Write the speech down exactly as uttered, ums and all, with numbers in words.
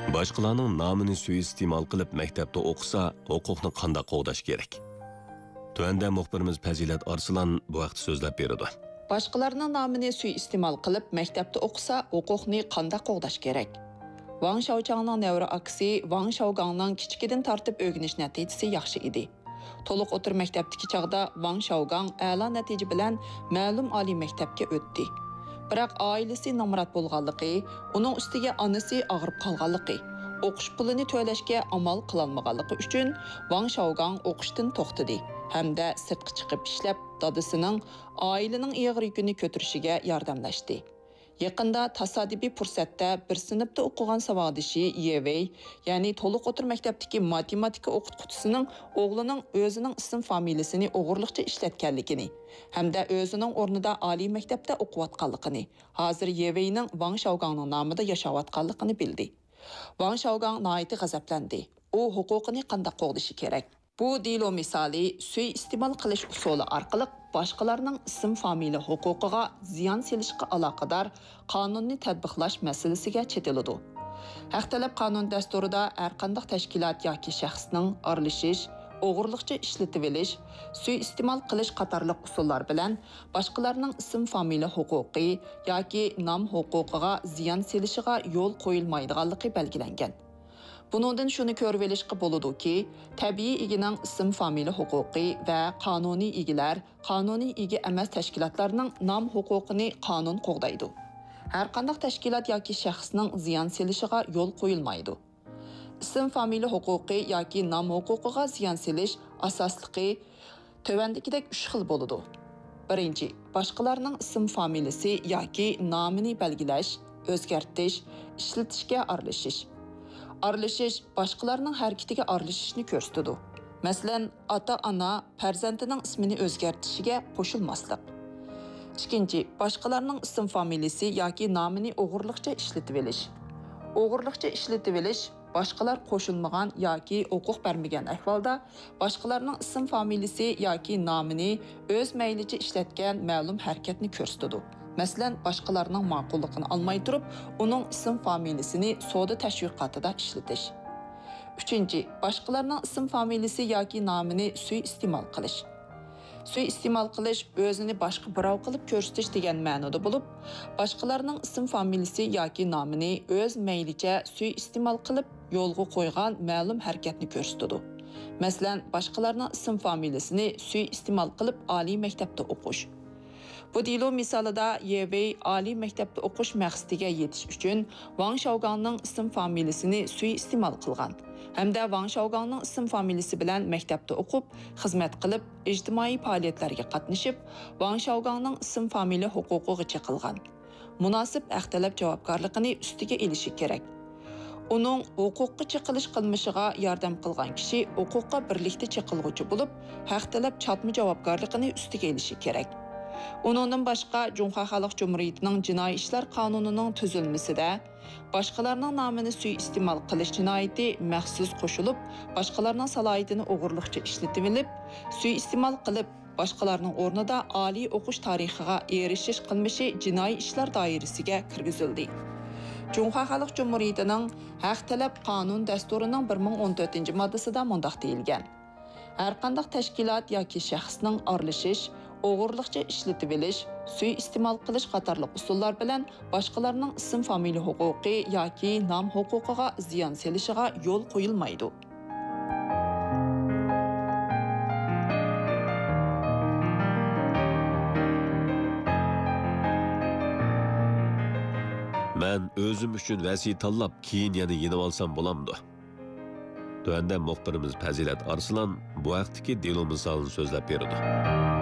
باشقىلارنىڭ نامىنى سۇيىئىستېمال قىلىپ مەكتەپتە ئوقۇسا، ھوقۇقنى قانداق قوغداش كېرەك؟ تۆۋەندە مۇخبىرىمىز پەزىلەت ئارسلان بۇ ھەقتە سۆزلەپ بېرىدۇ. باشقىلارنىڭ نامىنى سۇيىئىستېمال قىلىپ مەكتەپتە ئوقۇسا، ھوقۇقنى قانداق قوغداش كېرەك؟ ۋاڭ شاۋچاڭنىڭ نەۋرە ئاكىسى ۋاڭ شاۋگاڭنىڭ كىچىكىدىن تارتىپ ئۆگىنىش نەتىجىسى ياخشى ئىدى. تولۇق ئوتتۇرا مەكتەپتىكى چاغدا ۋاڭ شاۋگاڭ ئەلا نەتىجە بىلەن مەلۇم ئالىي مەكتەپكە ئۆتتى. بىراق ئائىلىسى نامرات بولغانلىقى، ئۇنىڭ ئۈستىگە ئانىسى ئاغرىپ قالغانلىقى، ئوقۇش پۇلىنى تۆلەشكە ئامال قىلالمىغانلىقى ئۈچۈن ۋاڭ شاۋگاڭ ئوقۇشتىن توختىدى ھەمدە سىرتقا چىقىپ ئىشلەپ، دادىسىنىڭ ئائىلىنىڭ ئېغىر يۈكىنى كۆتۈرۈشىگە ياردەملەشتى. يېقىندا تاسادىپىي پۇرسەتتە بىر سىنىپتا ئوقۇغان ساۋاقدىشى يې ۋېي، يەنى تولۇق ئوتتۇرا مەكتەپتىكى ماتېماتىكا ئوقۇتقۇچىسىنىڭ ئوغلىنىڭ ئۆزىنىڭ ئىسىم فامىلىسىنى ئوغرىلىقچە ئىشلەتكەنلىكىنى ھەمدە ئۆزىنىڭ ئورنىدا ئالىي مەكتەپتە ئوقۇۋاتقانلىقىنى، ھازىر يې ۋېينىڭ ۋاڭ شاۋگاڭنىڭ نامىدا ياشاۋاتقانلىقىنى بىلدى. ۋاڭ شاۋگاڭ ناھايىتى غەزەپلەندى. ئۇ ھوقۇقىنى قانداق قوغدىشى كېرەك؟ بۇ دېلو مىسالى سۇيىئىستېمال قىلىش ئۇسۇلى ئارقىلىق باشقىلارنىڭ ئىسىم فامىلە ھوقۇقىغا زىيان سېلىشقا ئالاقىدار قانۇننى تەتبىقلاش مەسىلىسىگە چېتىلىدۇ. ھەق تەلەپ قانۇن دەستۇرىدا ھەرقانداق تەشكىلات ياكى شەخسنىڭ ئارىلىشىش، ئوغرىلىقچە ئىشلىتىۋېلىش، سۇيىئىستېمال قىلىش قاتارلىق ئۇسۇللار بىلەن باشقىلارنىڭ ئىسىم فامىلە ھوقۇقى ياكى نام ھوقۇقىغا زىيان سېلىشىغا يول قويۇلمايدىغانلىقى بەلگىلەنگەن. بۇنىڭدىن شۇنى كۆرۈۋېلىشقا بولىدۇكى، تەبىئىي ئىگىنىڭ ئىسىم فامىلە ھوقۇقى ۋە قانۇنىي ئىگىلەر، قانۇنىي ئىگە ئەمەس تەشكىلاتلارنىڭ نام ھوقۇقىنى قانۇن قوغدايدۇ. ھەرقانداق تەشكىلات ياكى شەخسنىڭ زىيان سېلىشىغا يول قويۇلمايدۇ. ئىسىم فامىلە ھوقۇقى ياكى نام ھوقۇقىغا زىيان سېلىش ئاساسلىقى تۆۋەندىكىدەك ئۈچ خىل بولىدۇ. بىرىنچى، باشقىلارنىڭ ئىسىم فامىلىسى ياكى نامىنى بەلگىلەش، ئۆزگەرتىش، ئىشلىتىشكە ئارىلىشىش. ئارىلىشىش باشقىلارنىڭ ھەرىكىتىگە ئارىلىشىشنى كۆرسىتىدۇ. مەسىلەن، ئاتا-ئانا پەرزەنتىنىڭ ئىسمىنى ئۆزگەرتىشىگە قوشۇلماسلىق. ئىككىنچى، باشقىلارنىڭ ئىسىم فامىلىسى ياكى نامىنى ئوغرىلىقچە ئىشلىتىۋېلىش. ئوغرىلىقچە ئىشلىتىۋېلىش باشقىلار قوشۇلمىغان ياكى ھوقۇق بەرمىگەن ئەھۋالدا باشقىلارنىڭ ئىسىم فامىلىسى ياكى نامىنى ئۆز مەيلىچە ئىشلەتكەن مەلۇم ھەرىكەتنى كۆرسىتىدۇ. مەسىلەن، باشقىلارنىڭ ماقۇللۇقىنى ئالماي تۇرۇپ، ئۇنىڭ ئىسىم فامىلىسىنى سودا تەشۋىقاتىدا ئىشلىتىش. ئۈچىنچى، باشقىلارنىڭ ئىسىم فامىلىسى ياكى نامىنى سۇيىئىستېمال قىلىش. سۇيىئىستېمال قىلىش ئۆزىنى باشقا بىراۋ قىلىپ كۆرسىتىش دېگەن مەنىدە بولۇپ، باشقىلارنىڭ ئىسىم فامىلىسى ياكى نامىنى ئۆز مەيلىچە سۇيىئىستېمال قىلىپ يولغا قويغان مەلۇم ھەرىكەتنى كۆرسىتىدۇ. مەسىلەن، باشقىلارنىڭ ئىسىم فامىلىسىنى سۇيىئىستېمال قىلىپ ئالىي مەكتەپتە ئوقۇش. بۇ دېلو مىسالىدا يې ۋېي ئالىي مەكتەپتە ئوقۇش مەقسىتىگە يېتىش ئۈچۈن ۋاڭ شاۋگاڭنىڭ ئىسىم فامىلىسىنى سۇيىئىستېمال قىلغان ھەمدە ۋاڭ شاۋگاڭنىڭ ئىسىم فامىلىسى بىلەن مەكتەپتە ئوقۇپ، خىزمەت قىلىپ، ئىجتىمائىي پائالىيەتلەرگە قاتنىشىپ، ۋاڭ شاۋگاڭنىڭ ئىسىم فامىلە ھوقۇقىغا چېقىلغان مۇناسىپ ھەق تەلەپ جاۋابكارلىقىنى ئۈستىگە ئېلىشى كېرەك. ئۇنىڭ ھوقۇققا چېقىلىش قىلمىشىغا ياردەم قىلغان كىشى ھوقۇققا بىرلىكتە چېقىلغۇچى بولۇپ، ھەق تەلەپ چاتما جاۋابكارلىقىنى ئۈستىگە ئېلىشى كېرەك. ئۇنىڭدىن باشقا، جۇڭخۇا خەلق جۇمھۇرىيىتىنىڭ جىنايى ئىشلار قانۇنىنىڭ تۈزۈلمىسىدە باشقىلارنىڭ نامىنى سۇيىئىستېمال قىلىش جىنايىتى مەخسۇس قوشۇلۇپ، باشقىلارنىڭ سالاھىيىتىنى ئوغرىلىقچە ئىشلىتىۋېلىپ، سۇيىئىستېمال قىلىپ، باشقىلارنىڭ ئورنىدا ئالىي ئوقۇش تارىخىغا ئېرىشىش قىلمىشى جىنايى ئىشلار دائىرىسىگە كىرگۈزۈلدى. جۇڭخۇا خەلق جۇمھۇرىيىتىنىڭ ھەق تەلەپ قانۇن دەستۇرىنىڭ بىر مىڭ ئون تۆتىنچى ماددىسىدا مۇنداق دېيىلگەن: ھەرقانداق تەشكىلات ياكى شەخسنىڭ ئارىلىشىش، ئوغرىلىقچە ئىشلىتىۋېلىش، سۇيىئىستېمال قىلىش قاتارلىق ئۇسۇللار بىلەن باشقىلارنىڭ ئىسىم فامىلە ھوقۇقى ياكى نام ھوقۇقىغا زىيان سېلىشىغا يول قويۇلمايدۇ. مەن ئۆزۈم ئۈچۈن ۋەسىيە تاللاپ، كېيىن يەنە يېنىۋالسام بولامدۇ؟ تۆۋەندە مۇخبىرىمىز پەزىلەت ئارسلان بۇ ھەقتىكى دېلو مىسالىنى سۆزلەپ بېرىدۇ.